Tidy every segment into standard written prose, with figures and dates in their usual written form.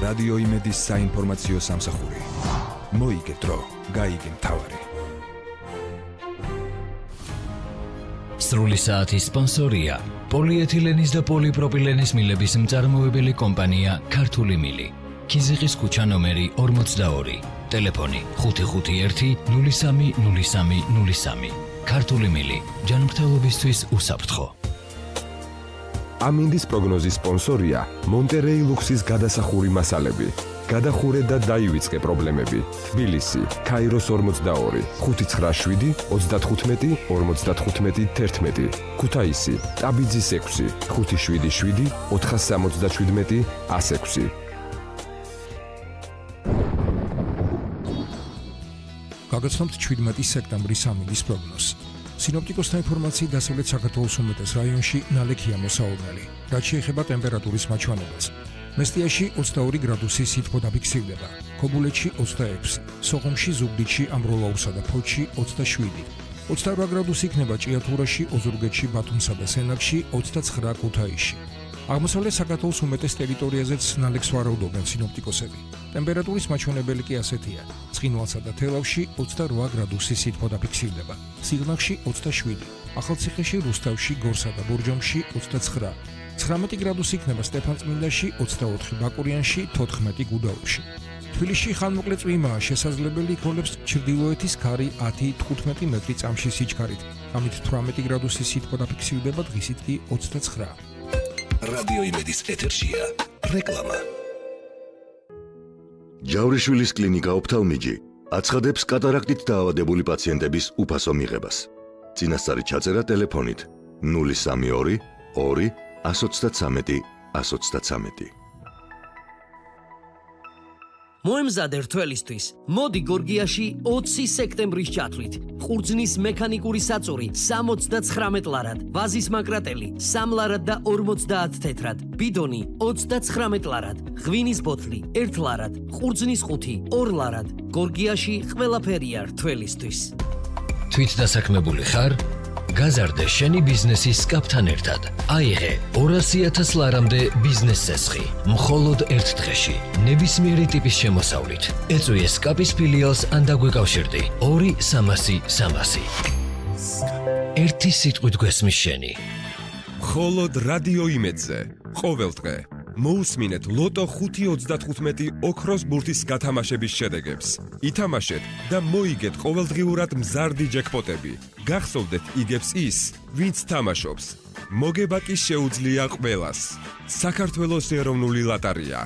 რადიო იმედის საინფორმაციო სამსახური. მოიგე დრო, გაიგე მთავარი. სრული საათის სპონსორია პოლიეთილენის და პოლიპროპილენის მილების მწარმოებელი კომპანია ქართული მილი. ქიზიყის ქუჩა ნომერი 42. ტელეფონი 551-030303. ქართული მილი. ჯანმრთელობისთვის უსაფრთხო. ამინდის პროგნოზის სპონსორია მონტერეი ლუქსის გადასახური მასალები. გადახურე და დაივიწყე პრობლემები. თბილისი, ქაიროს 42, 597 35 55 11. ქუთაისი, ტაბიძის 6, 577 477 106. გაგაცნობთ 17 სექტემბრის ამინდის პროგნოზს. სინოპტიკოსთა ინფორმაციით დასავლეთ საქართველოს უმეტეს რაიონში ნალექია მოსაუბნელი. რაც შეეხება ტემპერატურის მაჩვენებას. მესტიაში 22 გრადუსი სითბო დაფიქსირდება, ქობულეთში 26, სოხუმში, ზუგდიდში, ამბროლაურსა და ფოთში 27, 28 გრადუსი იქნება ჭიათურაში, ოზურგეთში, ბათუმსა და სენაკში, 29 ქუთაისში. აღმოსავლეთ საქართველოს უმეტეს ტერიტორიაზეც ნალექს ვარაუდობენ სინოპტიკოსები. ტემპერატურის მაჩვენებელი კი ასეთია: ცხინვალსა და თელავში 28 გრადუსი სითბო დაფიქსირდება, სიღნაღში 27, ახალციხეში, რუსთავში, გორსა და ბორჯომში 29, 19 გრადუსი იქნება სტეფანწმინდაში, 24 ბაკურიანში, 14 გუდაუთში. თბილისში ხანმოკლე წვიმაა შესაძლებელი, იქნებს ჩრდილოეთის ქარი 10-15 მეტრი წამში სიჩქარით. ამით 18 გრადუსი სითბო დაფიქსირდება, დღისით კი 29. რადიო იმედის ეთერშია რეკლამა. ჯავრიშვილის კლინიკა ოფთალმიჯი აცხადებს კატარაქტით დაავადებული პაციენტების უფასო მიღებას. წინასწარი ჩაწერა ტელეფონით 032 2 133 133. მოემზადე რთველისთვის. მოდი გორგიაში 20 სექტემბრის ჩათვლით. ყურძნის მექანიკური საწური 79 ლარად, ვაზის მაკრატელი 3 ლარად და 50 თეთრად, ბიდონი 29 ლარად, ღვინის ბოთლი 1 ლარად, ყურძნის ყუთი 2 ლარად. გორგიაში ყველაფერია რთველისთვის. თვითდასაქმებული ხარ? გაზარდე შენი ბიზნესის სკაპთან ერთად. აიღე 200,000 ლარამდე ბიზნეს წესხი. მხოლოდ ერთ დღეში. ნებისმიერი ტიპის შემოსავლით. ეწვიე სკაპის ფილიალს ან დაგვეკავშირდი 2-300-300. ერთი სიტყვით გვესმის შენი. მხოლოდ რადიო იმედზე. ყოველ დღე მოусმინეთ ლოტო 5.35 ოქროს ბურთის გათამაშების შედეგებს. ითამაშეთ და მოიგეთ ყოველდღიურად მზარდი ჯეკპოტები. გახსოვდეთ იგებს ის, ვინც თამაშობს. მოგება კი შეუძლია ყველას. საქართველოს ეროვნული ლოტარია.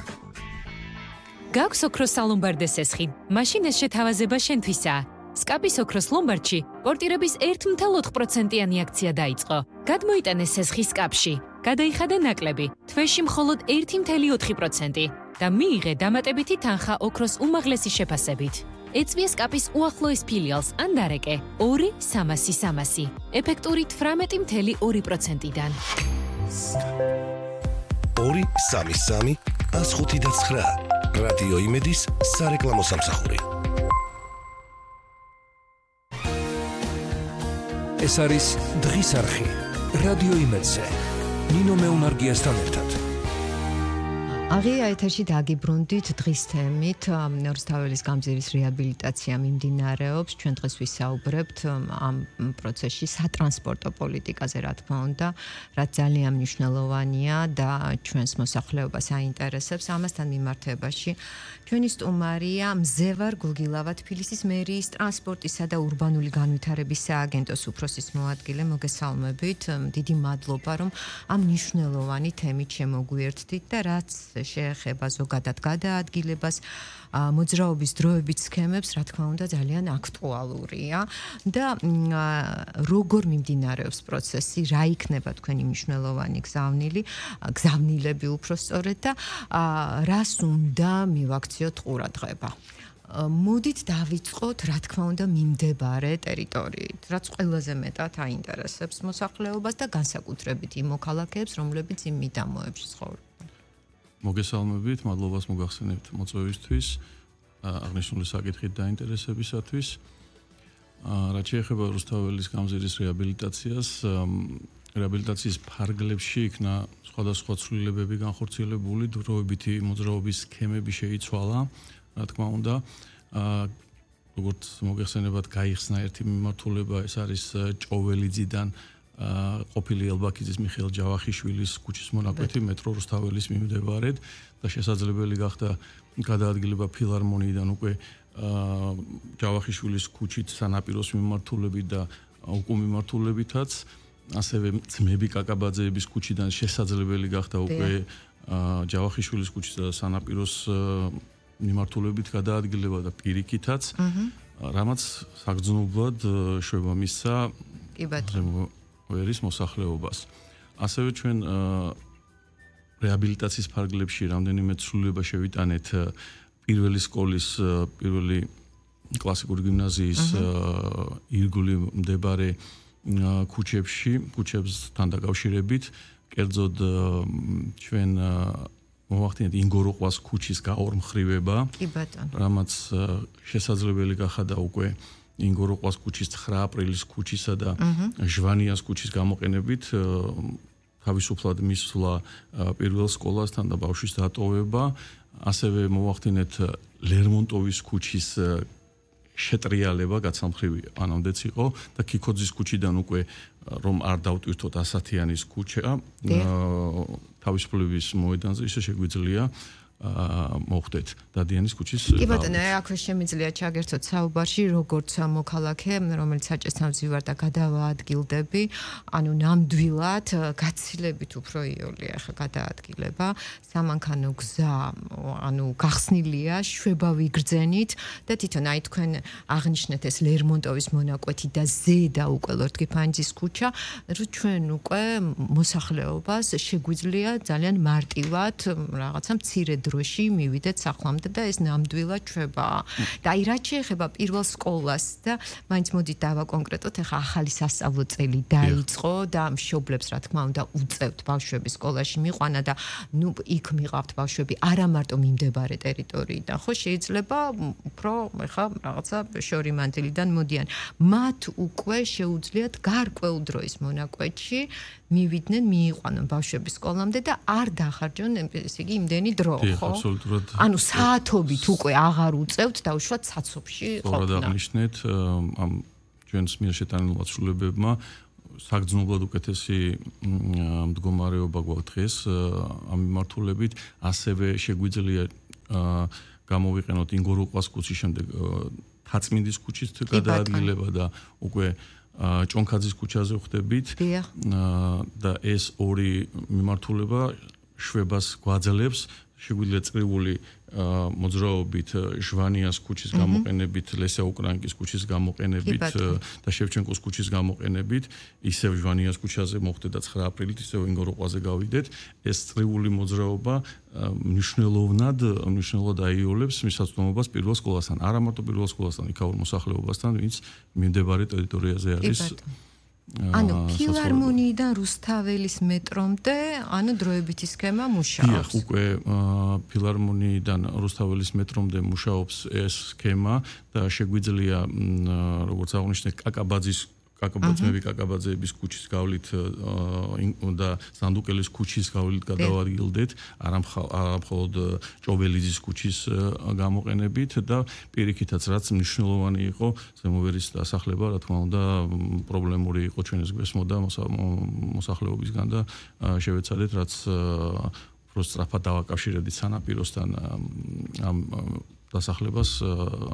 გაქვს ოქროს სალომბარდე სესხი. მაშინ ეს შეთავაზება შენთვისაა. სკაპის ოქროს ლომბარდში პორტირების 1.4%-იანი აქცია დაიწყო. გადმოიტანე სესხი სკაპში. გადაიხადე ნაკლები, თვეში მხოლოდ 1.4% და მიიღე დამატებითი თანხა ოქროს უმაღლესი შეფასებით. ეწვიე სკაპის უახლოეს ფილიალს ან დარეკე 2-300-300. ეფექტური 18.2%-დან. 2-3-3 105-9. რადიო იმედის სარეკლამო სამსახური. ეს არის დღის არხი რადიო იმედზე. ნინო მეუნარგიასთან ერთად. აღია ეთერში დაგიბრუნდით დღის თემით. რუსთაველის გამზირის რეაბილიტაცია მიმდინარეობს. ჩვენ დღეს ვისაუბრებთ ამ პროცესში სატრანსპორტო პოლიტიკაზე, რა თქმა უნდა, რაც ძალიან მნიშვნელოვანია და ჩვენს მოსახლეობას აინტერესებს. ამასთან მიმართებაში ჩვენი სტუმარია მზევარ გულგილავა, თბილისის მერიის ტრანსპორტისა და ურბანული განვითარების სააგენტოს უფროსის მოადგილე. მოგესალმებით. დიდი მადლობა, რომ ამ მნიშვნელოვანი თემით შემოგვიერთდით და რაც შეეხება ზოგადად გადაადგილებას, მოძრაობის დროებით სქემებს, რა თქმა უნდა, ძალიან აქტუალურია და როგორ მიმდინარეობს პროცესი, რა იქნება თქვენი მნიშვნელოვანი გზავნილები უფრო სწორედ და რას უნდა მივაქციოთ ყურადღება. მოდით დავიწყოთ, რა თქმა უნდა, მიმდებარე ტერიტორიით, რაც ყველაზე მეტად აინტერესებს მოსახლეობას და განსაკუთრებით იმ მოქალაქეებს, რომლებიც იმ მიდამოებში ცხოვრობენ. მოგესალმებით, მადლობას მოგახსენებთ მოწვევისთვის, აღნიშნული საკითხით დაინტერესებისათვის. რაც შეეხება რუსთაველის გამზირის რეაბილიტაციას, რეაბილიტაციის ფარგლებში იქნა სხვადასხვა ცვლილებები განხორციელებული, დროებითი მოძრაობის სქემები შეიცვალა, რა თქმა უნდა. როგორც მოგეხსენებათ, გაიხსნა ერთი მიმართულება, ეს არის ჭოველიძიდან ყოფილი ელბაქიძის მიხეილ ჯავახიშვილის ქუჩის მონაკვეთი მეტრო რუსთაველის მიმდებარედ და შესაძლებელი გახდა გადაადგილება ფილარმონიიდან უკვე ჯავახიშვილის ქუჩით სანაპიროს მიმართულებით და უკუ მიმართულებითაც, ასევე ძმები კაკაბაძეების ქუჩიდან შესაძლებელი გახდა უკვე ჯავახიშვილის ქუჩის და სანაპიროს მიმართულებით გადაადგილება და პირიქითაც, რამაც საგრძნობლად შვება მისცა ვერის მოსახლეობას. ასევე ჩვენ რეაბილიტაციის ფარგლებში რამდენიმე ცვლილება შევიტანეთ პირველი სკოლის, პირველი კლასიკური გიმნაზიის ირგვლივ მდებარე ქუჩებსთან დაკავშირებით, კერძოდ ჩვენ მოვახდინეთ ინგოროყვას ქუჩის გაორმხრივება, რამაც შესაძლებელი გახადა უკვე ინგოროყვას ქუჩის 9 აპრილის ქუჩისა და ჟვანიას ქუჩის გამოყენებით თავისუფლად მისვლა პირველ სკოლასთან და ბავშვის დატოვება, ასევე მოვახდინეთ ლერმონტოვის ქუჩის შეტრიალება, გაცალმხრივი ანამდეც იყო და ქიქოძის ქუჩიდან უკვე რომ არ დავტვირთოთ ასათიანის ქუჩა თავისუფლების მოედანზე ისე შეგვიძლია მოხდეთ დადიანის ქუჩის. კი ბატონო, აქვე შემიძლია ჩაგერთოთ საუბარში, როგორც მოქალაქე, რომელიც საჭესთან ვზივარ და გადავაადგილდები, ანუ ნამდვილად გაცილებით უფრო იოლია ხა გადაადგილება, სამანქანო გზა, ანუ გახსნილია, შვება ვიგრძენით და თვითონ აი თქვენ აღნიშნეთ ეს ლერმონტოვის მონაკვეთი და ზედა უკვე ლორდ-გიფანიძის ქუჩა, რომ ჩვენ უკვე მოსახლეობას შეგვიძლია ძალიან მარტივად რაღაცა მცირე დროში მივიდეთ სახლამდე და ეს ნამდვილად ჩვებაა. და აი რაც შეეხება პირველ სკოლას და მაინც მოდით დავაკონკრეტოთ, ეხა ახალი სასწავლო წელი დაიწყო და მშობლებს რა თქმა უნდა უწევთ ბავშვები სკოლაში მიყვანა და ნუ იქ მიყავთ ბავშვები არა მარტო მიმდებარე ტერიტორიიდან, ხო შეიძლება უფრო ეხა რაღაცა შორი მანძილიდან მოდიან. მათ უკვე შეუძლიათ გარკვეულ დროის მონაკვეთში მივიდნენ, მიიყვანონ ბავშვები სკოლამდე და არ დახარჯონ ესე იგი იმდენი დრო, ხო? აბსოლუტურად. ანუ საათობით უკვე აღარ უწევთ და უშუალოდ საცობში ყოფნა. სწორად აღნიშნეთ, ამ ჩვენს მიერ შეტანილ ცვლილებებმა საგრძნობლად უკეთესი მდგომარეობა გვაქვს დღეს ამ მიმართულებით, ასევე შეგვიძლია გამოვიყენოთ ინგოროყვას ქუჩის შემდეგ თაწმინდის ქუჩის გადაადგილება და უკვე ჭონქაძის ქუჩაზე ვხდებით და ეს ორი მიმართულება შვებას გვაძლევს, შეგვიძლია წრიული მოძრაობით ჟვანიას ქუჩის გამოყენებით, ლესა უკრაინკის ქუჩის გამოყენებით და შევჩენკოს ქუჩის გამოყენებით, ისევ ჟვანიას ქუჩაზე მოხდეთ და 9 აპრილით ისევ ინგოროყვაზე გავიდეთ. ეს წრიული მოძრაობა მნიშვნელოვნად აიოლებს მისაწვდომობას პირველ სკოლასთან, არა მარტო პირველ სკოლასთან, იქაურ მოსახლეობასთან, ვინც მიმდებარე ტერიტორიაზე არის. ანუ ფილარმონიიდან რუსთაველის მეტრომდე, ანუ დროებითი სქემა მუშაობს. დიახ, უკვე ფილარმონიიდან რუსთაველის მეტრომდე მუშაობს ეს სქემა და შეგვიძლია, როგორც აღნიშნეთ, კაკაბაძეების კაკაბაძეების ქუჩის გავლით და სანდუკელის ქუჩის გავლით გადავადგილდეთ, არა მხოლოდ ჭოველიძის ქუჩის გამოყენებით და პირიქითაც რაც მნიშვნელოვანი იყო ზემოვერის დასახლება, რა თქმა უნდა, პრობლემური იყო ჩვენს გვესმოდა მოსახლეობისგან და შევეცადეთ რაც უფრო სწრაფად დავაკავშირებდით სანაპიროსთან ამ დასახლებას